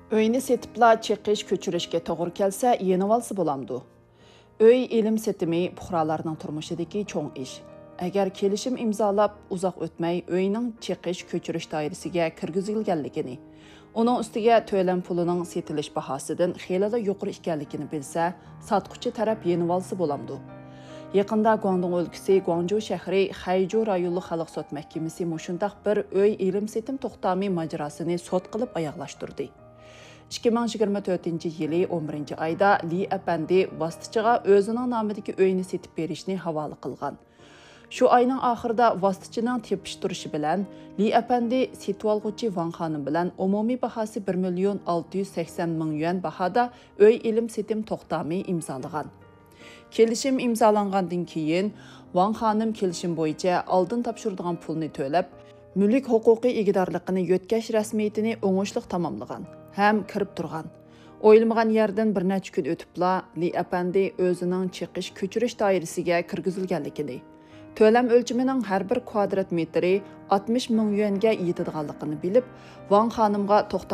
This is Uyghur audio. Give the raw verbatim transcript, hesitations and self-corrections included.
ئۆينى سېتىپلا چېقىش كۆچۈرۈشكە توغرا كەلسە، يېنىۋالسا بولامدۇ؟ ئۆي ئېلىم-سېتىمى پۇقرالارنىڭ تۇرمۇشىدىكى چوڭ ئىش. ئەگەر كېلىشىم ئىمزالاپ، ئۇزاق ئۆتمەي ئۆينىڭ چېقىش كۆچۈرۈش دائىرىسىگە كىرگۈزۈلگەنلىكىنى، ئۇنىڭ ئۈستىگە تۆلەم پۇلىنىڭ سېتىلىش باھاسىدىن خېلىلا يۇقىرى ئىكەنلىكىنى بىلسە، ساتقۇچى تەرەپ يېنىۋالسا بولامدۇ؟ يېقىندا گۇاڭدۇڭ ئۆلكىسى گۇاڭجۇ شەھىرى خەيجۇ رايونلۇق خەلق سوت مەھكىمىسى مۇشۇنداق بىر ئۆي ئېلىم-سېتىم توختامى ماجىراسىنى سوت قىلىپ ئاياغلاشتۇردى. ئىككى مىڭ يىگىرمە تۆتىنچى يىلى ئون بىرىنچى ئايدا لى ئەپەندى ۋاسىتىچىغا ئۆزىنىڭ نامىدىكى ئۆينى سېتىپ بېرىشنى ھاۋالە قىلغان. شۇ ئاينىڭ ئاخىرىدا ۋاسىتىچىنىڭ تېپىشتۇرۇشى بىلەن، لى ئەپەندى سېتىۋالغۇچى ۋاڭ خانىم بىلەن ئومۇمىي باھاسى بىر مىليون ئالتە يۈز سەكسەن مىڭ يۈەن باھادا ئۆي ئېلىم-سېتىم توختامى ئىمزالىغان. كېلىشىم ئىمزالانغاندىن كېيىن، ۋاڭ خانىم كېلىشىم بويىچە ئالدىن تاپشۇرىدىغان پۇلنى تۆلەپ، مۈلۈك ھوقۇقى ئىگىدارلىقىنى يۆتكەش رەسمىيىتىنى ئوڭۇشلۇق تاماملىغان ھەم كىرىپ تۇرغان. ئويلىمىغان يەردىن بىر نەچچە كۈن ئۆتۈپلا، لى ئەپەندى ئۆزىنىڭ چېقىش كۆچۈرۈش دائىرىسىگە كىرگۈزۈلگەنلىكىنى، تۆلەم ئۆلچىمىنىڭ ھەر بىر كۋادرات مېتىرى ئاتمىش مىڭ يۈەنگە يېتىدىغانلىقىنى بىلىپ، ۋاڭ خانىمغا توختام